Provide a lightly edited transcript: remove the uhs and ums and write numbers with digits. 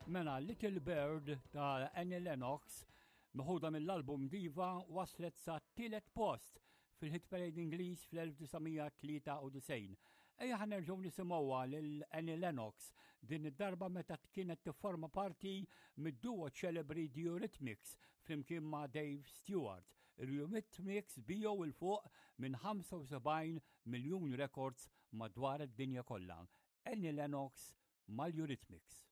Mela Little Bird ta' Annie Lennox meħuda mill-album Diva waslet sa tielet post fil-hit parade Ingliż fl-1993. Ejja ħa nerġgħu nisimgħuha lil Annie Lennox din id-darba meta kienet tifforma parti mid-duo ċelebri The Eurythmics flimkien ma' Dave Stewart. Il-Eurythmics biegħu 'l fuq minn 75 miljun records madwar id-dinja kollha. Annie Lennox mal-Eurythmics.